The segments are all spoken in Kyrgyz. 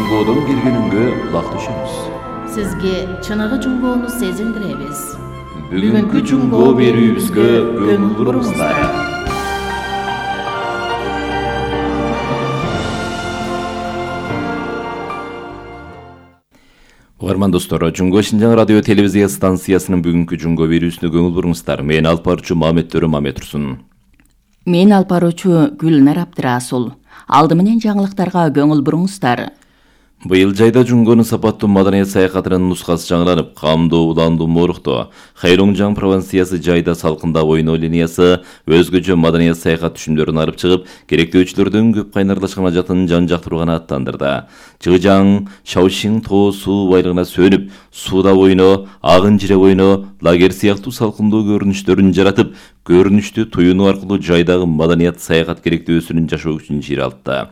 Жунгодон келгениңге кулак түшөбүз. Сизге чыныгы жунгоону сезиндиребиз. Бүгүнкү жунгоо берүүбүзгө көңүл буруңуздар. Угарман достор, Жунгоо Шинжаң радио телевизия станциясынын бүгүнкү жунгоо берүүсүнө көңүл буруңуздар. Мен алып баруучу Мамет Төрө Мамет-Турсун. Мен алып баруучу Гүлнар Абдырасул. Алды менен жаңылыктарга көңүл буруңуздар. Быйыл жайда жунгонун сапаттуу маданият саякатынын нускасы жаңыланып, камдуу, уландуу, мооруктоо, Хайроңжаң провинциясы жайда салкындап ойноо линиясы өзгөчө маданият саякат түшүмдөрүн алып чыгып, керектөөчүлөрдүн көп кайнарлашкан ажатын жан жактырууга аттандырды. Чыгжаң, Шаошиң тоо суу байлыгына сөнүп, сууда ойноо, агын жире ойноо, лагерь сыяктуу салкындуу көрүнүштөрүн жаратып, көрүнүштү туюнуу аркылуу жайдагы маданият саякат керектөөсүнүн жашоо үчүн жер алды.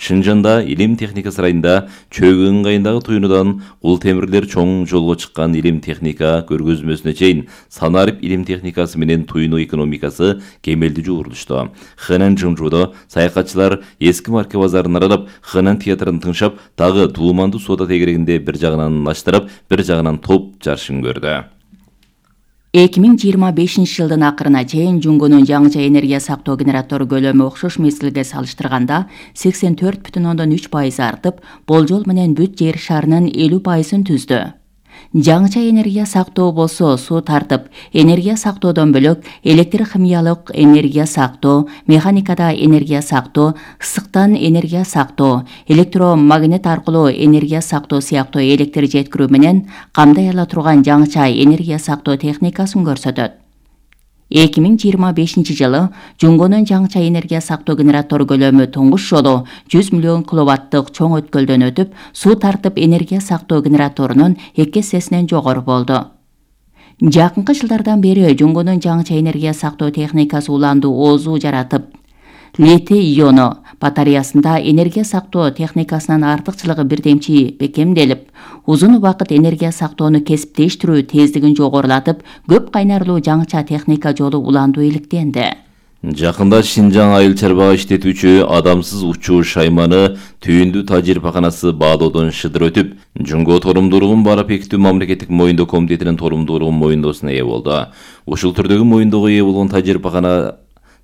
Шынжанда илим техника сарайында чөгү ыңгайындагы туюнудан кул темирлер чоң жолго чыккан илим техника көргөзмөсүнө чейин Санарип илим техникасы менен туюнуу экономикасы кемелдүү жуурулушту. Хэнан Жымжуудо саякатчылар эски марка базарын аралап, Хэнан театрын тыңшап, дагы Дуумандуу соода тегерегинде бир жагынан наштырап, бир жагынан топ жарышын көрдү. 2025 жылдын акырына чейин жунгонун жаңыча энергия сактоо генератор көлөмү окшош мезгилге салыштырганда 84,3% артып, болжол менен бүт жер шарынын 50%-ын түздү. Жаңыча энергия сактоо болсо суу тартып, энергия сактоодон бөлөк электр-химиялык энергия сактоо, механикада энергия сактоо, ысыктан энергия сактоо, электромагнит аркылуу энергия сактоо сыяктуу электр жеткирүү менен камдай ала турган жаңыча энергия сактоо техникасын көрсөтөт. 2025 жылы жунгонун жаңыча энергия сактоо генератор көлөмү туңгуш жолу 100 миллион киловаттык чоң өткөлдөн өтүп, суу тартып энергия сактоо генераторунун 2 эсесинен жогору болду. Жакынкы жылдардан бери жунгонун жаңыча энергия сактоо техникасы уландуу оозу жаратып, литий-иону батареясында энергия сактоо техникасынын артыкчылыгы бирдемчи бекемделип, узун убакыт энергия сактоону кесиптештирүү тездигин жогорулатып, көп кайнарлуу жаңыча техника жолу уландуу иликтенди. Жакында Шинжаң айыл чарбага иштетүүчү адамсыз учуу шайманы түйүндүү тажрыйбаканасы баалоодон шыдыр өтүп, Жунгоо торомдуулугун барап бекитүү мамлекеттик моюндоо комитетинин торомдуулугун моюндоосуна ээ болду. Ушул түрдөгү моюндоого ээ болгон тажрыйбакана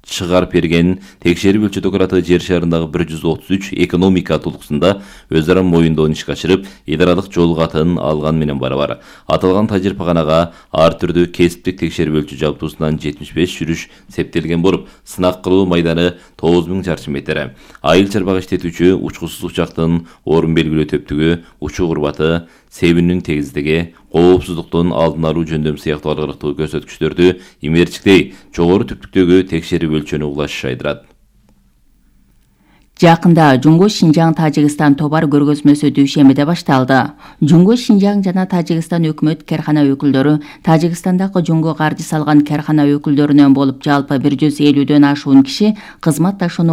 чыгарып берген текшерип өлчөт операты жер шарындагы 133 экономика толукусунда өз ара моюндоон ишке ашырып, эл аралык жол катын алган менен барабар. Аталган тажрыйбаканага ар түрдүү кесиптик текшерип өлчү жабдуусунан 75 жүрүш септелген болуп, сынак кылуу майданы 9000 чарчы метр. Айыл чарбага иштетүүчү учкусуз учактын орун белгилөө төптүгү, учуу курбаты, себинин тегиздиги, коопсуздуктун алдын алуу жөндөм сыяктуу аргалыктуу көрсөткүчтөрдү имерчиктей жогору түптүктөгү текшерип өлчөнү улаш айдырат. Жакында Жунгоо Шинжаң Тажикстан товар көргөзмөсү дүйшөмбүдө башталды. Жунгоо Шинжаң жана Тажикстан өкмөт кархана өкүлдөрү Тажикстандагы жунгоо каржы салган кархана өкүлдөрүнөн болуп жалпы 150дөн ашуун киши кызматташууну